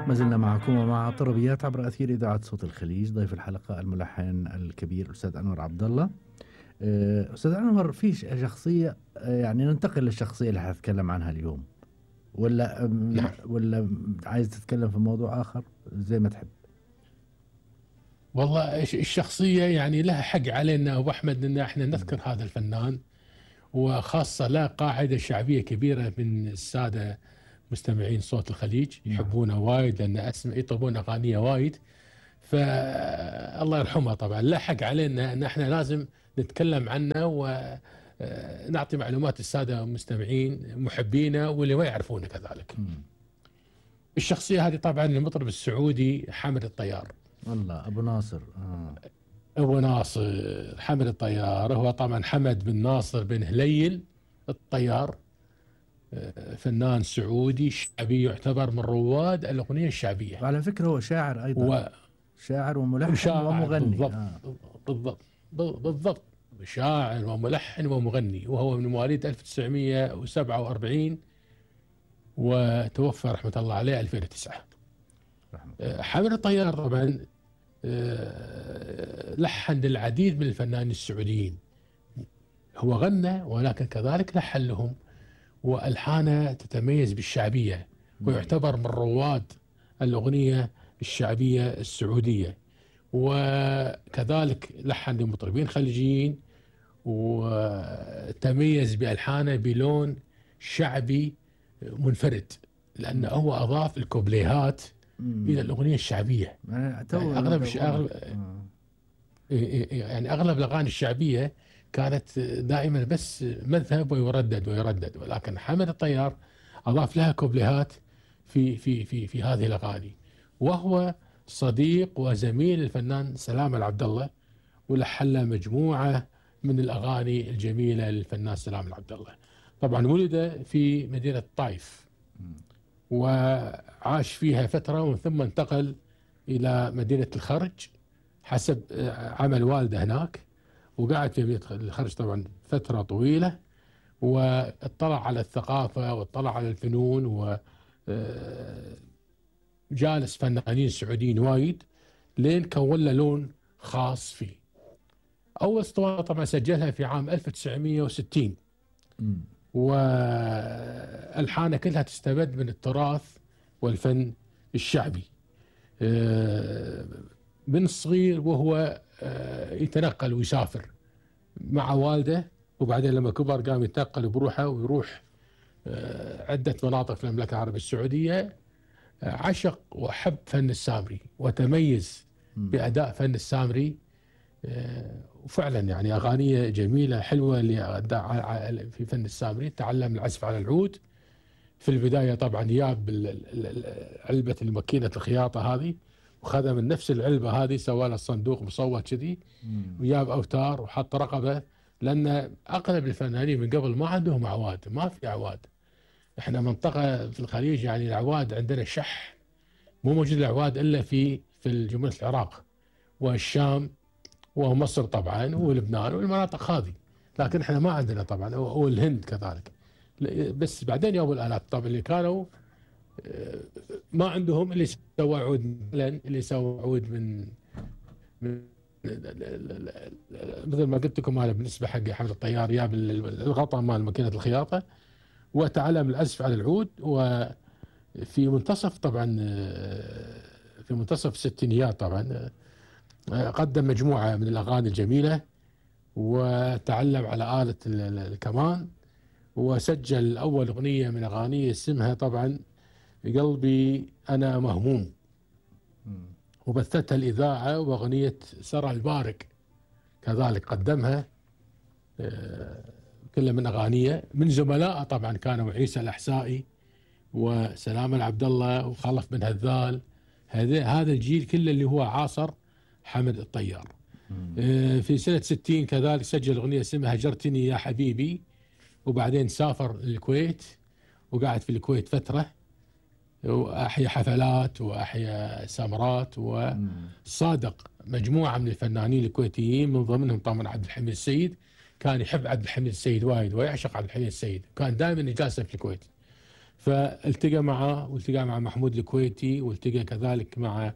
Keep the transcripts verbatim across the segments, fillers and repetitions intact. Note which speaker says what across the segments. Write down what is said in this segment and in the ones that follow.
Speaker 1: ما زلنا معكم ومع طربيات عبر أثير إذاعة صوت الخليج. ضيف الحلقة الملحن الكبير الأستاذ أنور عبد الله. آه، أستاذ أنور، في ش- شخصية، آه، يعني ننتقل للشخصية اللي حنتكلم عنها اليوم، ولا أم،
Speaker 2: نعم.
Speaker 1: ولا عايز تتكلم في موضوع آخر زي ما تحب؟
Speaker 2: والله الش- الشخصية يعني لها حق علينا أبو أحمد أن احنا نذكر هذا الفنان، وخاصة له قاعدة شعبية كبيرة من السادة مستمعين صوت الخليج،
Speaker 1: نعم.
Speaker 2: يحبونه وايد لأن أسم يطلبون أغانيه وايد. فالله يرحمه طبعا لا حق علينا أن احنا لازم نتكلم عنه ونعطي معلومات السادة المستمعين محبينه واللي ما يعرفونه كذلك.
Speaker 1: مم.
Speaker 2: الشخصية هذه طبعا المطرب السعودي حامد الطيار.
Speaker 1: والله أبو ناصر. آه.
Speaker 2: أبو ناصر حمد الطيار هو طبعا حمد بن ناصر بن هليل الطيار، آه، فنان سعودي شعبي يعتبر من رواد الأغنية الشعبية.
Speaker 1: وعلى فكرة هو شاعر أيضا،
Speaker 2: و-
Speaker 1: شاعر وملحن
Speaker 2: وشاعر
Speaker 1: ومغني.
Speaker 2: بالضبط.
Speaker 1: آه.
Speaker 2: بالضبط بالضبط شاعر وملحن ومغني، وهو من مواليد ألف وتسعمئة وسبعة وأربعين وتوفى رحمة الله عليه ألفين وتسعة.
Speaker 1: رحمة
Speaker 2: آه، حمد الطيار طبعا آه، لحن للعديد من الفنانين السعوديين. هو غنى ولكن كذلك لحن لهم، والحانه تتميز بالشعبيه، ويعتبر من رواد الاغنيه الشعبيه السعوديه. وكذلك لحن لمطربين خليجيين، وتميز بالحانه بلون شعبي منفرد، لانه هو اضاف الكوبليهات
Speaker 1: مم.
Speaker 2: الى الاغنيه الشعبيه.
Speaker 1: يعني تو-
Speaker 2: يعني اغلب
Speaker 1: تو-
Speaker 2: أغلب
Speaker 1: آه.
Speaker 2: يعني اغلب الاغاني الشعبيه كانت دائما بس مذهب ويردد ويردد، ولكن حمد الطيار اضاف لها كوبليهات في في في في هذه الاغاني. وهو صديق وزميل الفنان سلام العبد الله، ولحن له مجموعه من الاغاني الجميله للفنان سلام العبد الله. طبعا ولد في مدينه طائف وعاش فيها فتره، ومن ثم انتقل الى مدينه الخرج حسب عمل والده هناك، وقعد في مدينة الخرج طبعا فترة طويلة، واطلع على الثقافة واطلع على الفنون، وجالس فنانين سعوديين وايد لين كون له لون خاص فيه. أول اسطوانة طبعا سجلها في عام ألف وتسعمئة وستين،
Speaker 1: مم.
Speaker 2: والحانه كلها تستمد من التراث والفن الشعبي. من الصغير وهو يتنقل ويسافر مع والده، وبعدين لما كبر قام يتنقل بروحه ويروح عدة مناطق في المملكة العربية السعودية. عشق وحب فن السامري وتميز بأداء فن السامري، وفعلا يعني أغانيه جميلة حلوة اللي في فن السامري. تعلم العزف على العود في البداية، طبعا جاب علبة الماكينة الخياطة هذه وخذها من نفس العلبة هذه، سوى له الصندوق مصوت كذي، وجاب أوتار وحط رقبة، لأن أغلب الفنانين من قبل ما عندهم أعواد، ما في أعواد. احنا منطقة في الخليج يعني الأعواد عندنا شح، مو موجود الأعواد إلا في في جمهورية العراق والشام ومصر طبعا ولبنان والمناطق هذه، لكن احنا ما عندنا طبعا، والهند كذلك. بس بعدين يوم الآلات طبعا اللي كانوا ما عندهم، اللي سوى عود اللي سوى عود من, من مثل ما قلت لكم انا بالنسبه حق حمد الطيار، جاب الغطاء مال ماكينه الخياطه وتعلم العزف على العود. وفي منتصف طبعا في منتصف الستينيات طبعا قدم مجموعه من الاغاني الجميله، وتعلم على آلة الكمان، وسجل اول اغنيه من اغانيه اسمها طبعا قلبي أنا مهموم، وبثتها الإذاعة. وأغنية سرى البارق كذلك قدمها، كلها من أغانيه. من زملائه طبعا كانوا عيسى الأحسائي وسلام العبد الله وخلف بن هذال، هذا هذا الجيل كله اللي هو عاصر حمد الطيار. في سنة ستين كذلك سجل أغنية اسمها هجرتني يا حبيبي، وبعدين سافر الكويت وقعد في الكويت فترة، وأحيا حفلات وأحيا سمرات، وصادق مجموعة من الفنانين الكويتيين من ضمنهم طبعا عبد الحميد السيد. كان يحب عبد الحميد السيد وايد ويعشق عبد الحميد السيد، كان دائما يجالسه في الكويت. فالتقى معه، والتقى مع محمود الكويتي، والتقى كذلك مع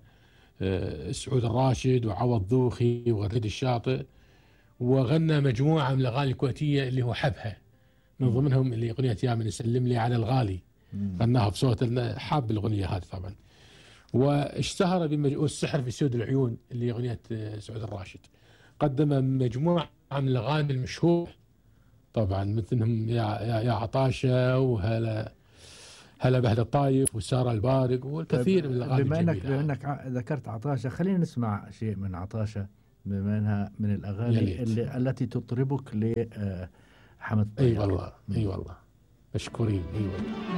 Speaker 2: آه، سعود الراشد وعوض ذوخي وغريد الشاطئ، وغنى مجموعة من الأغاني الكويتية اللي هو حبها، من ضمنهم اللي أغنية يا من يسلم لي على الغالي، غناها بصوت حاب الأغنية هذه طبعا. واشتهر بالسحر في سود العيون اللي أغنية سعود الراشد. قدم مجموعة من الأغاني المشهورة طبعا، مثلهم يا يا, يا عطاشة، وهلا هلا بهذا الطايف، وسارة البارق، والكثير من الأغاني
Speaker 1: بما
Speaker 2: الجميلة.
Speaker 1: انك بما انك ذكرت عطاشة، خلينا نسمع شيء من عطاشة، بما انها من الاغاني اللي التي تطربك لحمد الطيار.
Speaker 2: اي والله، اي والله، مشكورين، اي والله.